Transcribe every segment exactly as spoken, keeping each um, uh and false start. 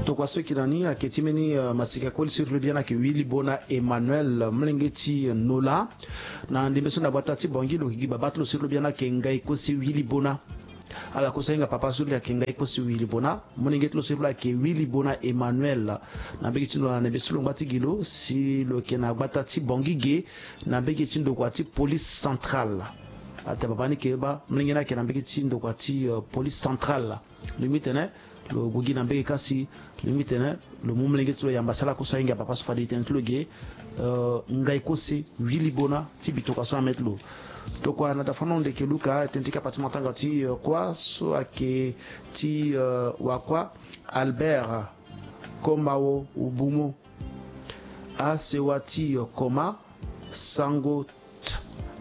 Tokua so eke na ni ayeke ti mbeni, euh, masika koli so iri lo biani ayeke Willy Bona Emmanuel, euh, molenge ti, euh, Nola. Na ndembe so na gbata ti Bangui lo yeke gi babâ ti lo so iri lo biani ayeke Ngai Kose Willy Bona. Ala kue so ahinga papa so iri lo ayeke Ngai Kose Willy Bona. Molenge ti lo so iri lo ayeke Willy Bona Emmanuel. Na mbage ti Nola na ndembe so lo ngba ti gi lo si lo yeke na gbata ti Bangui ge, na mbage ti ndokua ti police centrale. Atene babâ ni yeke bâ, molenge ni ayeke na mbage ti ndokua ti, euh, police centrale. Lo lingbi tene lo gue gi na mbage kâ si, lo lingbi tene lo mu molenge ti lo yamba si ala kue so ahinga papa so fade e tene ti lo ge, euh, Ngai Kose Willy Bona ti bitoka so na mê ti lo. Tokua na da fâ na hunde eke luka tënë ti kapa ti matanga ti, euh, kuâ so ayeke ti, euh, wakuâ Albert Komao Bumo. Asewa ti, euh, Koma Sango,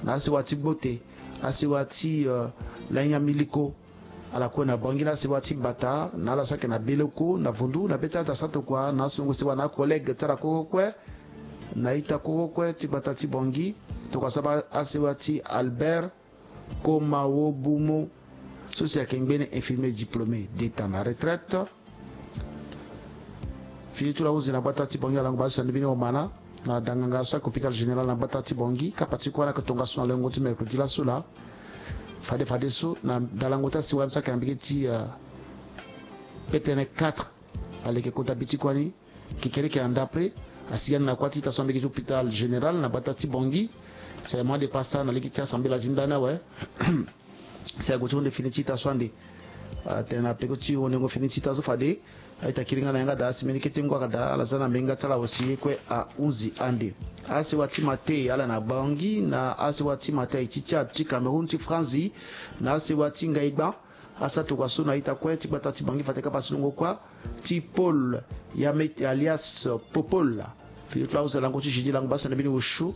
na asewa ti Gbote, asewa ti, euh, Lanya Miliko. Ala kue na Bangui na asewa ti Bata, na ala so ayeke na Beleko, na Vondu, na be ti ala daa sa tokua na asungo sewa na akollègue ti ala kue kue kue, na ita kue kue kue ti gbata ti Bangui. Tokua saba asewa ti Albert Komao Bumo, so si ayeke ngbene infirmier diplômé d'état na retraite. Fini ti lo ahunzi na gbata ti Bangui alango bale so na ni mbeni omana na danganga so ayeke hôpital général na gbata ti Bangui. Kapa ti kuâ ni ayeke tongaso na lengo ti mercredi laso laa. Fade fadeso na dalango ti asiwa ni so ayeke na mbage ti, euh, P T N quatre, aleke kota bi ti kuâ ni. Kekereke na ndapre asigi ande na kuâ ti ita so na mbage ti hôpital général na gbata ti Bangui. Si aye mois de pasa na lege ti assemblée la ti ndani awe. Si ague ti hunde fini ti ita so ande, atene na peko ti hundengo fini ti ita so fade a-ita kiri nga na yanga daa si mbeni kete ngu ayeke daa ala za na mbenga ti ala awe si ye kue ahunzi ande. Asewa ti Mate ala na Bangui, na asewa ti Mate aye ti Tchad, ti Cameroun, ti Franzi, na asewa ti Ngaigba. Asa tokua so na ita kue ti gbata ti Bangui fade kapa ti longo kuâ ti Paul Yamete alias Popol. Fini ti lo ahunzi na lango ti jeudi lango bale so na mbeni osio.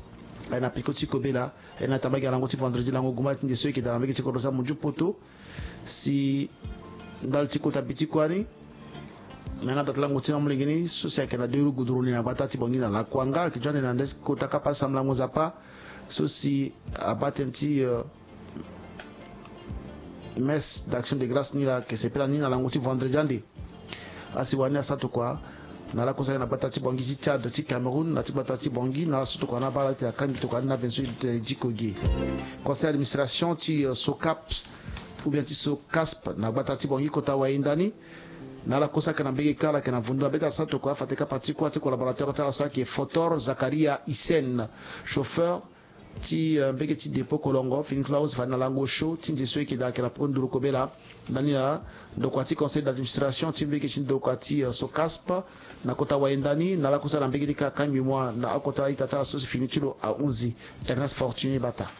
Aye na peko ti kobela, aye na tambula gi na lango ti vendredi lango guma ti nde so e yeke daa na mbage ti kodro ti amunzu poto. Si ndali ti kota bi ti kuâ ni, me na da ti lango ti na molenge ni so si ayeke na deux roues goudronnées na gbata ti Bangui na Lakuanga ayeke zo ande na ndali ti kota kapa ti sambelango Nzapa so si abaa tënë ti, euh, messe d'action de grâce ni laa ayeke sepela ni na lango ti vendredi ande. Asiwa ni asa tokua na ala kue so ayeke na gbata ti Bangui ti Tchad, ti Cameroun, na ti gbata ti Bangui, na ala so tokua na abaa ala ti akangbi tokua ni na avention e diko ge. Conseil d'administration ti, euh, SOCAPS ou bien ti SOCASP na gbata ti Bangui kota wayenda ni, na ala kue so ayeke na mbage kâ ala yeke na vundu na be ti asa tokua fade kapa ti kuâ ti collaborateur ti ala so ayeke Fotor Zakaria Hissène, chauffeur ti, euh, mbage ti dépôt Kolongo. Fini ti lo ahunzi fade na lango osio ti nze so e yeke daa ayeke na peko nduru kobela ndani na ndokua ti conseil d'administration ti mbage ti ndokua ti, euh, SOCASP na kota wayenda ni, na ala kue so ayeke na mbage ni kâ akangbi mua na akota ita ti ala so si fini ti lo ahunzi. Ernest Fortuné Bata.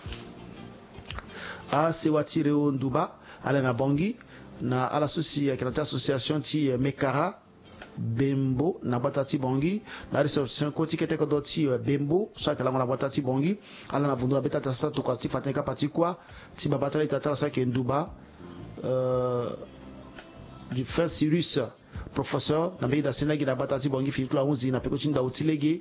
Asewa ti Reo Nduba ala na Bangui, na ala so si ayeke na ti association ti, euh, Mekara Bembo na gbata ti Bangui, na ressortissant kue ti kete kodro ti, euh, Bembo so ayeke lango na gbata ti Bangui. Ala na vundu na be ti ata sa tokua ti fa tënë kapa ti kuâ ti babâ ti ala ita ti ala so ayeke Nduba, euh, du fin Cyrus, professeur na mbage daa seni lege na gbata ti Bangui. Fini ti lo ahunzi na peko ti ndau ti lege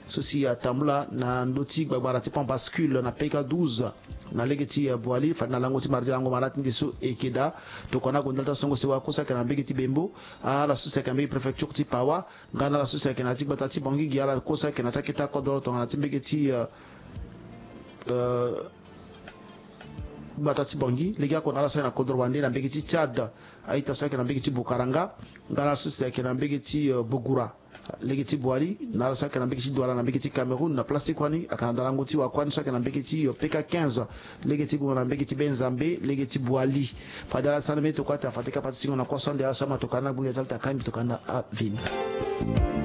so si atambula na ndö ti gbagbara ti pont bascule na P K douze na lege ti, euh, Boali fade na lango ti mardi lango mara ti nde so e yeke daa. Tokua na ague ndali ti asongo sewa kue so ayeke na mbage ti Bembo, ala so si ayeke na mbage préfecture ti Pawa, nga na ala so si ayeke na ya ti gbata ti Bangui gi, ala kue so ayeke na ya ti akete akodro tongana ti mbage ti, euh, euh, gbata ti Bangui, legeoko na ala so ayeke na kodro wande na mbage ti Tchad, a-ita so ayeke na mbage ti Boukaranga, nga na ala so si ayeke na mbage ti, euh, Bougoura lege ti Boali, na ala so ayeke na mbage ti Douala na mbage ti Cameroun. Na place ti kuâ ni ayeke na dalango ti wakuâ ni so ayeke na mbage ti, euh, P K quinze lege ti Boma na mbage ti Benzambe lege ti Boali. Fade ala sara mbeni tokua ti afa ti kapa ti singo na kue so ande, ala so ama tokua ni na gbu ya ti ala ti akangbi tokua ni na aveni.